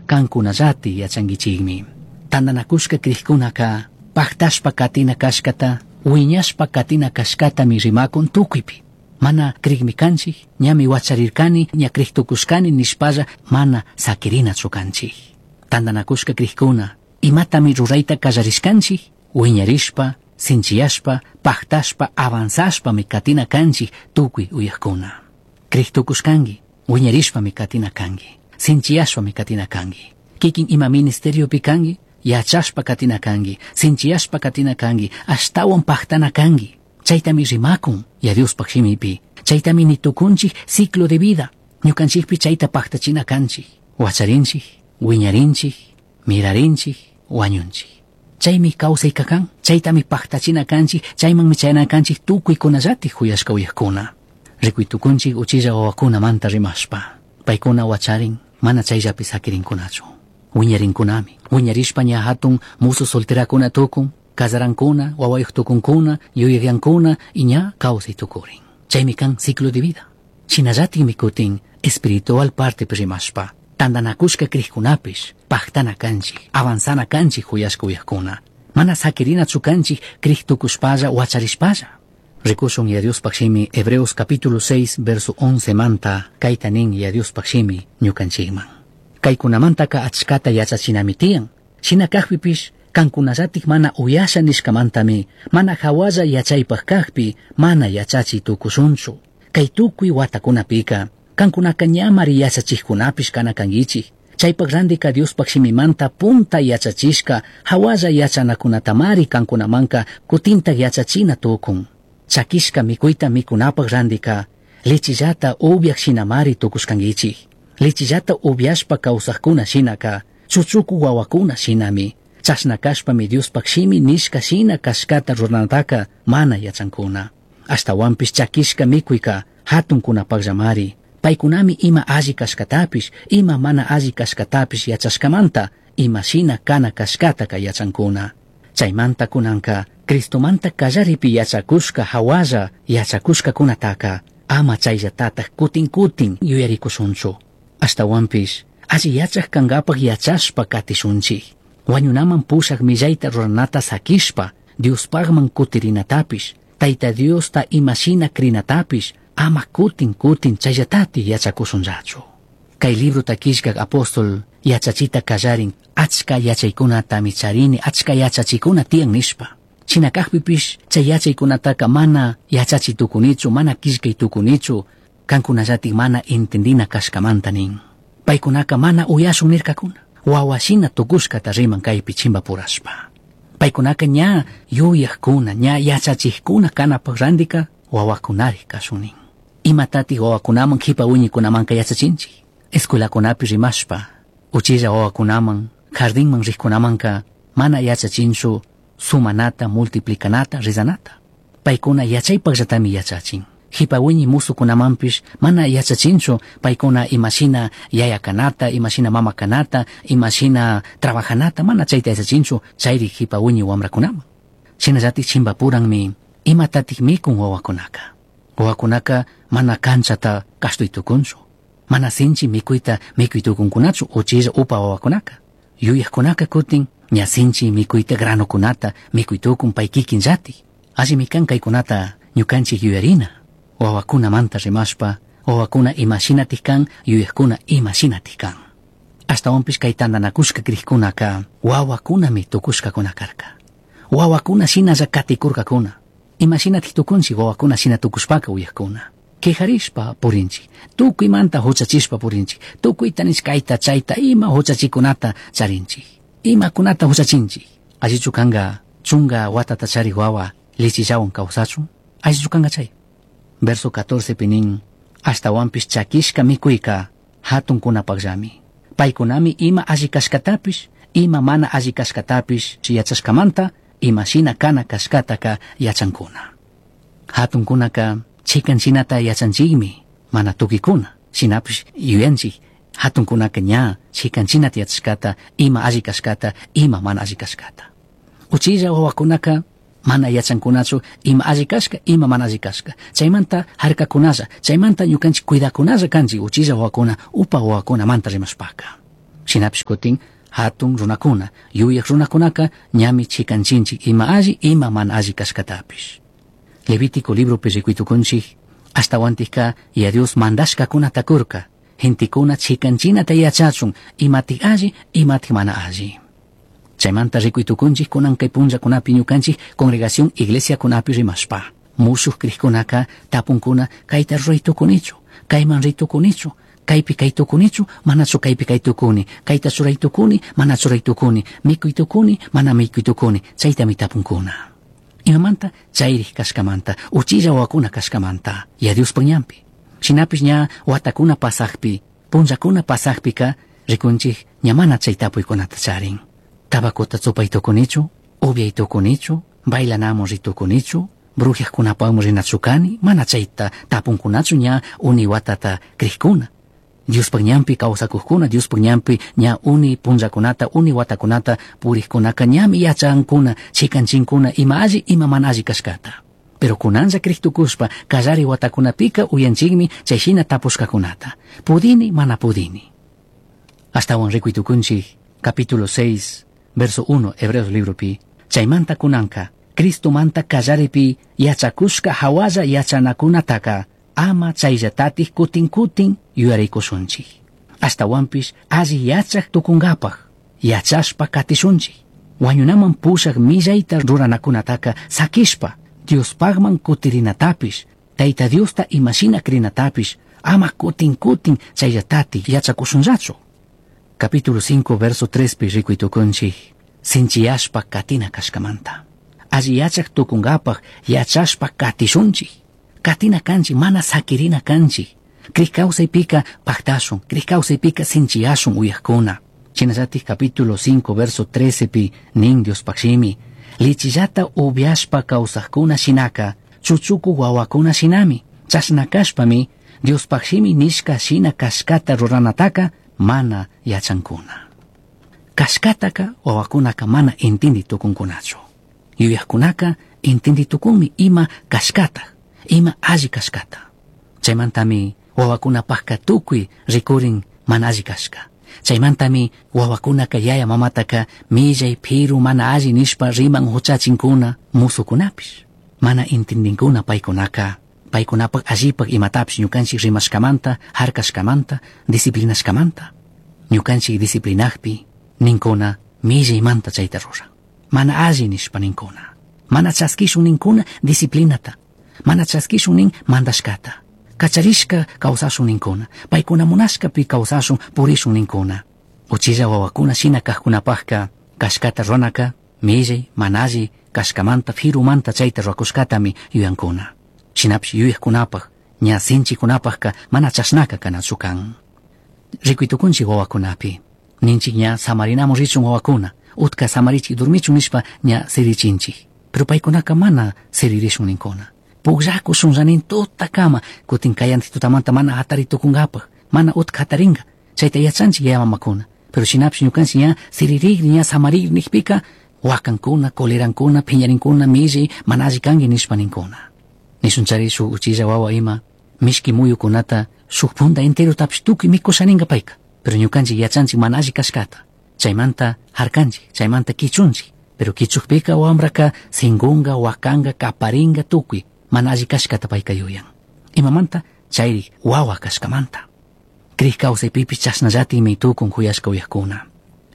Cancunallati yachanguichijmi. Tandanacushca crijcunaca pajtashpa katina cashcata, huiñashpa katina cashcatami rimacun tucuipi. Mana crigmi canchij, ñami huacharircani, ña crij tucushcani nishpalla mana saquirinachu canchij. Tandanacushca crijcuna, imatami ruraita callarishcanchij, huiñarishpa, sinchiyashpa, pajtashpa, avanzashpami katina canchij tucui uyajcuna. Crij tucushcangui, huiñarishpami katina cangui, sinchiyashpami katina cangui. Kikin ima ministeriopi cangui, yachashpa katina cangui, sinchiyashpa katina cangui, ashtawan pajtana cangui. Chaytami rimakun, ya Diospaj shimipi. Chaytami nitukunchik ciclo de vida. Ñukanchikpi chayta pajtachina kanchik. Wacharinchik, wiñarinchik, mirarinchik, wañunchik. Chaymi kawsayka kan, chaytami pajtachina kanchik, chaymanmi chayana kanchik tukuykunallatik huyashka uyajkuna. Rikuy tukunchik uchilla wawakunamanta rimashpa. Paykuna wacharin, mana chayllapi sakirinkunachu. Wiñarinkunami. Wiñarishpa ña hatun musu solterakuna tukun, casarankuna, wawayuq tukunkuna, yuyaqyankuna y ña kawsay tukurin. Chaymi kan ciclo de vida. Shinallatikmi kutin espiritual partepi rimashpa. Tandanakushka crijkunapish, pajtana kanchik, avanzana kanchik huyashka uyajkuna. Mana sakirinachu kanchik crij tukushpalla wacharishpalla. Rikushun ya Diospaj shimi Hebreos capítulo 6 verso 11 manta kayta nin ya Diospaj shimi ñukanchikman. Kaykunamantaka achkata yachachinami tiyan. Shina kajpipish kankunallatik mana uyasha nishkamantami, mana hawalla yachaypaj kajpi, mana yachachi tukushunchu. Kay tukuy watakunapika, kankunaka ñamari yachachijkunapish kana kanguichik. Chaypaj randika Diospaj shimimanta punta yachachishka, hawalla yachanakunatamari kankunamanka kutintak yachachina tukun. Chakishka mikuyta mikunapaj randika, lechillata upiaj shinamari tukushkanguichik. Lechillata upiashpa kawsajkuna shinaka, chuchuku wawakuna shinami. Chashna kashpami Diospaj shimi nishka shina kashkata ruranataka mana yachankuna. Ashtawanpish chakishka mikuyka hatunkunapajllamari. Paykunami ima alli kashkatapish, ima mana alli kashkatapish yachashkamanta, ima shina kana kashkataka yachankuna. Chaymanta kunanka, Cristomanta kallaripi yachakushka hawalla yachakushkakunataka, ama chayllatataj kutin kutin yuyarikushunchu. Ashtawanpish, alli yachaj kankapaj yachashpa katishunchik. Wañunaman pushaj millayta ruranata sakishpa, Diospajman kutirinatapish, Tayta Diosta imashina crinatapish, ama kutin kutin chayllatatik yachakushunllachu. Kay librota killkak apóstol yachachita kallarin, achka yachaykunatami charini, achka yachachikuna tiyan nishpa. Shina kajpipish chay yachaykunataka mana yachachi tukunichu, mana killkay tukunichu, kankunallatik mana entendina kashkamanta nin. Paykunaka mana uyashun nirkakuna. Wawashina tukushkata riman kaypi chimbapurashpa. Paykunaka ña yuyajkuna, ña yachachijkuna kanapaj randika wawakunarik kashun nin. Imatatik wawakunaman kipa wiñikunamanka yachachinchik. Escuelakunapi rimashpa, uchilla wawakunaman, jardinman rijkunamanka mana yachachinchu sumanata, multiplicanata, rizanata. Paykuna yachaypajllatami yachachin. Jipa wiñi musukunamanpish mana yachachinchu paykuna imashina yaya kanata, imashina mama kanata, imashina trabajanata, mana chayta yachachinchu chayri jipa wiñi wamrakunaman. Shinallatik chimbapuranmi imatatik mikun wawakunaka. Wawakunaka mana kanchata kashtuy tukunchu. Mana sinchi mikuyta mikuy tukunkunachu uchilla upa wawakunaka. Yuyajkunaka kutin ña sinchi mikuyta granokunata mikuy tukun pay kikinllatik. Allimi kan kaykunata ñukanchik yuyarina. Wawakunamanta rimashpa, wawakuna imashinatik kan, yuyajkuna imashinatik kan. Ashtawanpish kay tandanakushka crijkunaka wawakunami tukushkakuna karka. Wawakuna shinalla katikurkakuna. Imashinatik tukunchik wawakuna shina tukushpaka uyajkuna. Quejarishpa purinchik, tukuymanta huchachishpa purinchik, tukuyta nish kayta chayta ima huchachikunata charinchik. Imakunata huchachinchik. Allichu kanka chunga watata charik wawa lichillawan kawsachun, allichu kanka chay. Verso 14 pi nin, ashtawanpish chakishka mikuyka hatunkunapajllami. Paykunami ima alli kashkatapish, ima mana alli kashkatapish yachashkamanta, imashina kana kashkataka yachankuna. Hatunkunaka chikan shinata yachanchikmi, mana tukikuna, shinapish yuyanchik, hatunkunaka ña chikan shinata yachashkata, ima alli kashkata, ima mana alli kashkata. Uchilla wawakunaka mana yachankunachu ima alli kashka, ima mana alli kashka. Chaymanta harkakunalla, chaymanta ñukanchik cuidakunalla kanchik uchilla wawakuna, upa wawakunamanta rimashpaka. Shinapish kutin hatun runakuna, yuyaq runakunaka ñami chikanchinchik ima alli ima mana alli kashkatapish. Levítico libropi rikuytukunchik ashtawantikka Yaya Dios mandashkakunata kurka, gentekuna chikanchinata yachachun imatik alli imatik mana alli. Chaymanta rikuytukunchik kunan kay punllakunapi ñukanchik congregación iglesiakunapi rimashpa. Mushuq krikkunaka tapunkuna kayta ruraytukunichu, kayman ritukunichu, kaypi kaytukunichu, manachu kaypi kaytukuni, kayta churaytukuni, mana churaytukuni, mikuytukuni, mana mikuytukuni, chaytami tapunkuna. Imamanta chayrik kashkamanta, uchilla wawakuna kashkamanta, Yaya Diospaj ñanpi. Shinapish ña watakuna pasakpi, punllakuna pasakpika rikunchik ña mana chay tapuykunata charin. Tabacota chupaytukunichu, upiaytukunichu, bailanamun ritukunichu, brujiajkunapakmi rinachu kani, mana chayta tapunkunachu ña uni watata krikuna. Diospaj ñanpi kawsakukkuna, Diospaj ñanpi ña uni punllakunata, uni watakunata purikkunaka ñami yachankuna, chikanchinkuna ima alli ima mana alli kashkata. Pero kunanlla kriktukushpa kallari watakunapika uyanchikmi chay shina tapushkakunata. Pudini, mana pudini. Ashtawan rikuytukunchik capítulo 6, verso 1, Hebreos libropi, chaymanta kunanka, Cristomanta kallaripi yachakushka hawalla yachanakunataka ama chayllatatik kutin kutin yuyarikushunchik. Ashtawanpish alli yachak tukunkapaj, yachashpa katishunchik. Wañunaman pushak millayta ruranakunataka sakishpa, Diospajman kutirinatapish, Tayta Diosta imashina krinatapish, ama kutin kutin chayllatatik yachakushunllachu. Capítulo 5, verso 3 pi rikuytukunchik, sinchiyashpa katina kashkamanta. Alli yachak tukunkapaj yachashpa katishunchik. Katina kanchik, mana sakirina kanchik. Krik kawsaypika paktashun, krik kawsaypika sinchiyashun uyakuna. Shinallatik capítulo 5, verso 13 pi nin Diospaj shimi, lichillata upiashpa kawsakuna shinaka, chuchuku wawakuna shinami, chashna kashpami, Diospaj shimi nishka shina kashkata ruranataka mana yachankuna. Kashkataka wawakunaka mana intindi tukunkunachu. Yuyakkunaka intindi tukunmi ima kashkata, ima alli kashkata. Chaymantami wawakunapajka tukuy rikurin mana alli kashka. Chaymantami wawakunaka yaya mamataka millay piru mana alli nishpa riman huchachinkuna musukunapish. Mana intindinkuna paykunaka, paykunapak allipak imatapish ñukanchik rimashkamanta, harkashkamanta, disciplinashkamanta. Ñukanchik disciplinakpi ninkuna millaymanta chayta ruran. Mana alli nishpa ninkuna. Mana chaskishun ninkuna disciplinata. Mana chaskishun nin mandashkata. Kacharishka kawsashun ninkuna. Paykuna munashkapi kawsashun purishun ninkuna. Uchilla wawakuna shina kajkunapajka kashkata ruranaka millay, mana alli kashkamanta, firumanta chayta rurakushkatami yuyankuna. Shinapish yuyajkunapaj, ña sinchikunapajka mana chashnaka kanachu kan. Rikuytukunchik wawakunapi. Ninchik ña samarinamun richun wawakuna. Utka samarichik durmichun nishpa ña sirichinchik. Pero paykunaka mana siririshun ninkuna. Pukllakushun nin tutakama, kutin kayantik tutamanta mana hatari tukunkapaj, mana utka hatarinka. Chayta yachanchik yaya mamakuna. Pero shinapish ñukanchik ña siririkri, ña samarikri nikpika, wakankuna, kolerankuna, phiñarinkuna, millay, mana alli kanki nishpa ninkuna. Nishunchari shuk uchilla wawa ima, mishki muyukunata shuk punta enterotapish tukuy mikushaninka payka. Pero ñukanchik yachanchik mana alli kashkata. Chaymanta harkanchik, chaymanta kichunchik. Pero kichukpika wambraka singunga, wakanka, kaparinga tukuy mana alli kashkata payka yuyan. Imamanta chayrik wawa kashkamanta. Krik kawsaypipish chashnallatikmi tukun kuyashka uyakuna.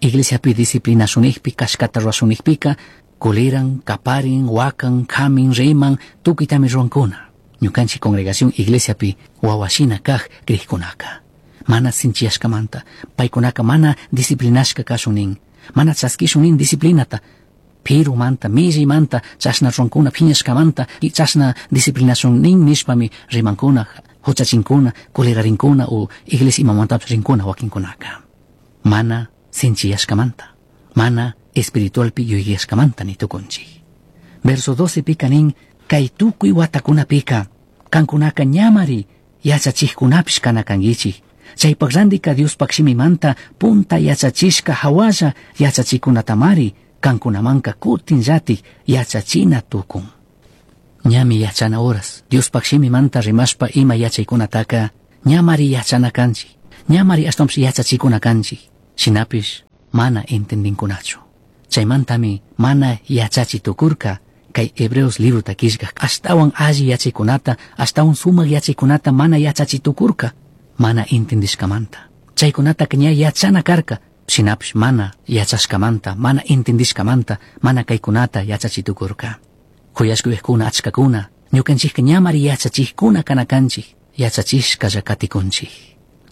Iglesiapi disciplinasunijpi, kashkata rurashunijpika, kuliran, kaparin, wakan, kamin, riman, tukuytami ruwankuna. Ñukanchik congregación iglesiapi wawashina kaj krikkunaka. Mana sinchiyashkamanta, paykunaka mana disciplinashka kashun nin, mana chaskishun nin disciplinata, pirumanta, millaymanta, chashna ruwankuna phiñashkamanta, chashna disciplinashun nin nishpami rimankuna, huchachinkuna, kulirarinkuna o iglesia imamantapish rinkuna wakinkunaka. Mana sinchiyashkamanta, mana espiritualpi yuyashkamanta ni tukunchik. Verso 12 pika nin, kay tukuy watakunapika, kankunaka ñamari yachachikkunapish kana kankichik. Chaypak randika Diospaj shimimanta punta yachachishka hawalla yachachikunatamari kankunamanka kutinllatik yachachina tukun. Ñami yachana horas, Diospaj shimimanta rimashpa ima yachaykunataka ñamari yachana kanchik, ñamari ashtawanpish yachachikuna kanchik. Shinapish mana entendinkunachu. Chaymantami mana yachachi tukurka kay Hebreos librota killkak ashtawan alli yachaykunata, ashtawan sumak yachaykunata mana yachachi tukurka, mana entendishkamanta. Chaykunataka ña yachana karka, shinapish mana yachashkamanta, mana entendishkamanta, mana kaykunata yachachi tukurka. Kuyashka uyajkuna achkakuna, ñukanchikka ñamari yachachikkuna kana kanchik, yachachishkalla katikunchik.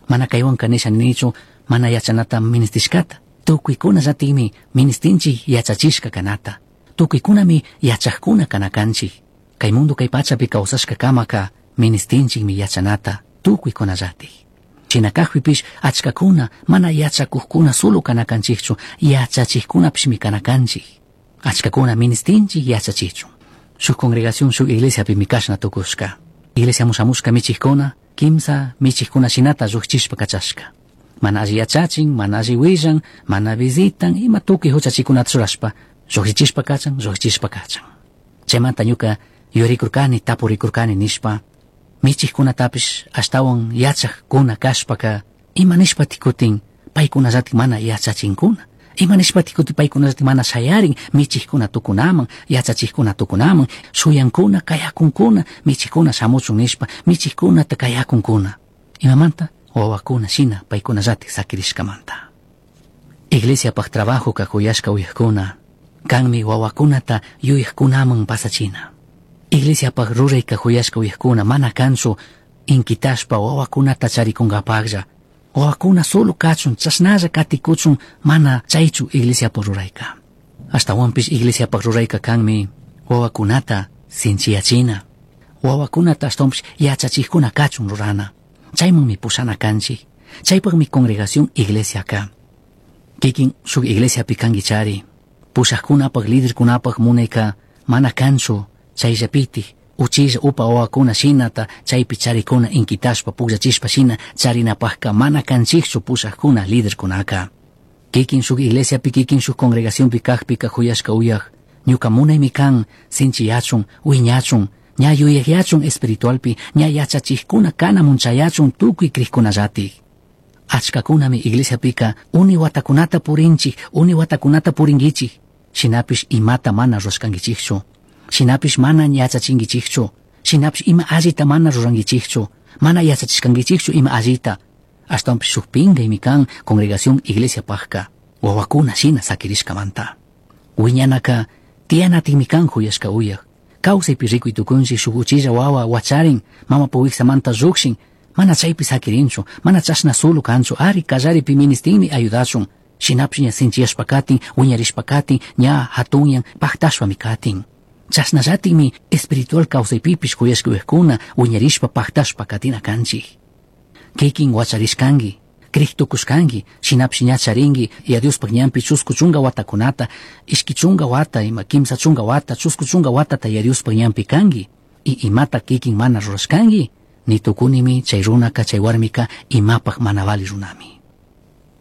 Mana kaywanka nisha ninichu mana yachanata ministishkata. Tukuykunallatikmi ministinchik yachachishka kanata. Tukuykunami yachajkuna kana kanchik. Kay mundo kay pachapi kawsashka kamaka ministinchikmi yachanata tukuykunallatik. Shina kajpipish achkakuna mana yachakujkuna solo kana kanchikchu, yachachikkunapishmi kana kanchik. Achkakuna ministinchik yachachichun. Shuk congregación, shuk iglesiapimi kashna tukushka. Iglesia mushamushka michikkuna, kimsa michikkuna shinata llukchishpa kachashka. Mana alli yachachin, mana alli willan, mana visitan, ima tukuy huchachikunata churashpa, llukchichishpa kachan, llukchishpa kachan. Chaymanta ñuka yuyarikurkani, tapurikurkani nishpa, michikkunatapish ashtawan yachajkuna kashpaka, ima nishpatik kutin paykunallatik mana yachachinkuna. Ima nishpatik kutin paykunallatik mana shayarin michikkuna tukunaman, yachachikkuna tukunaman, shuyankuna, kayakunkuna, michikkuna shamuchun nishpa, michikkunata kayakunkuna. Imamanta? Wawakuna shina paykunallatik sakirishkamanta. Iglesiapaj trabajoka kuyashka uyajkuna, kanmi wawakunata yuyajkunaman pasachina. Iglesiapaj rurayka kuyashka uyajkuna mana kanchu inkitashpa wawakunata charikunkapaklla. Wawakuna solo kachun, chashnalla katikuchun, mana chaychu iglesiapaj rurayka. Ashtawanpish iglesiapaj rurayka kanmi wawakunata sinchiyachina. Wawakunata ashtawanpish yachachikkuna kachun rurana. Chaymanmi pushana kanchik. Chaypakmi congregación iglesiaka. Kikin shuk iglesiapi kankichari. Pushajkunapak liderkunapak munayka mana kanchu chayllapitik uchilla upa wawakuna shinata chaypi charikuna inkitashpa pukllachishpa shina charinapakka mana kanchikchu pushajkuna liderkunaka. Kikin shuk iglesiapi kikin shuk congregacionpi kajpika kuyashka uyaj ñuka munaymi kan sinchiyachun wiñachun ña yuyajyachun espiritualpi ña yachachikkuna kanamun chayachun tukuy krikkunallatik. Achkakunami iglesiapika uni watakunata purinchik, uni watakunata purinkichik. Shinapish imata mana rurashkankichikchu. Shinapish mana yachachinkichikchu. Shinapish ima allita mana rurankichikchu. Mana yachachishkankichikchu ima allita. Ashtawanpish shuk pinkaymi kan congregación iglesiapajka. Wawakuna shina sakirishkamanta. Wiñanaka tiyanatikmi kan kuyashka uyaj. Kawsaypi rikuy tukunchik shuk uchilla wawa wacharin, mama wiksamanta llukshin, mana chaypi sakirinchu, mana chashna solo kanchu, ari kallaripi ministinmi ayudachun. Shinapish ña sinchiyashpa katin, wiñarishpa katin, ña hatunyan paktashpami katin. Chashnallatikmi espiritual kawsaypipish kuyashka uyajkuna wiñarishpa paktashpa katina kanchik. Kikin wacharishkanki, krik tukushkanki, shinapish ña charinki, ya Diospaj ñanpi chusku chunka watakunata, ishki chunka wata, ima kimsa chunka wata, chusku chunka watata ya Diospaj ñanpi kanki. Y imata kikin mana rurashkanki, ni tukunimi chay runaka chay warmika imapaj mana vali runami.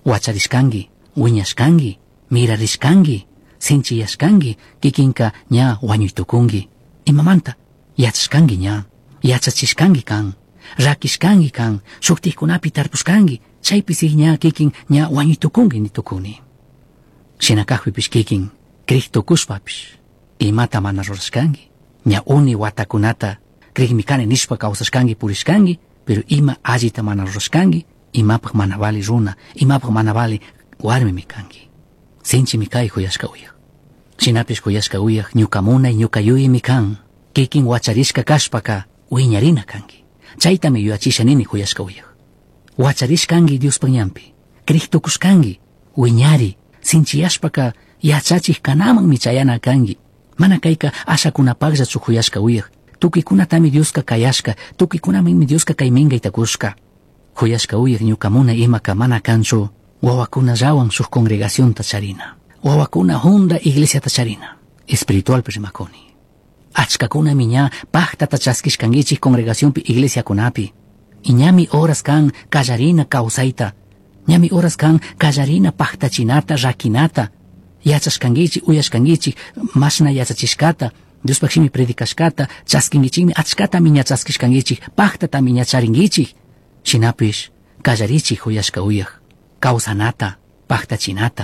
Wacharishkanki, wiñashkanki, mirarishkanki, sinchiyashkanki, kikinka ña wañuytukunki. Imamanta? Yachashkanki ña, yachachishkanki kan, rakishkanki kan, shuktikkunapi tarpushkanki, chaypi si ña kikin ña wañuytukunki ni tukuni. Shina kajpipish kikin krik tukushpapish, imata mana rurashkanki, ña uni watakunata krikmi kani nishpa kawsashkanki purishkanki, pero ima allita mana rurashkanki, imapaj mana vali runa, imapaj mana vali warmimi kanki. Sinchimi kay kuyashka uyaj. Shinapish kuyashka uyaj ñuka munay ñuka yuyaymi kan, kikin wacharishka kashpaka wiñarina kanki. Chaytami yuyachisha nini kuyashka uyaj. Wacharishkanki Diospaj ñanpi, krik tukushkanki, wiñari, sinchiyashpaka yachachik kanamanmi chayana kanki. Mana kayka ashakunapakllachu kuyashka uyaj. Tukuykunatami Dioska kayashka, tukuykunamanmi Dioska kay minkayta kushka. Kuyashka uyaj ñuka munay imaka mana kanchu wawakunallawan shuk congregacionta charina. Wawakuna junda iglesiata charina. Espiritualpi rimakuni. Achkakunami ña paktata chaskishkankichik congregacionpi iglesiakunapi. Y ñami horas kan kallarina kawsayta. Ñami horas kan kallarina paktachinata, rakinata. Yachashkankichik, uyashkankichik, mashna yachachishkata, Diospaj shimi predicashkata, chaskinkichikmi, achkatami ña chaskishkankichik, paktatami ña charinkichik. Shinapish kallarichik kuyashka uyaj, kawsanata, pajtachinata.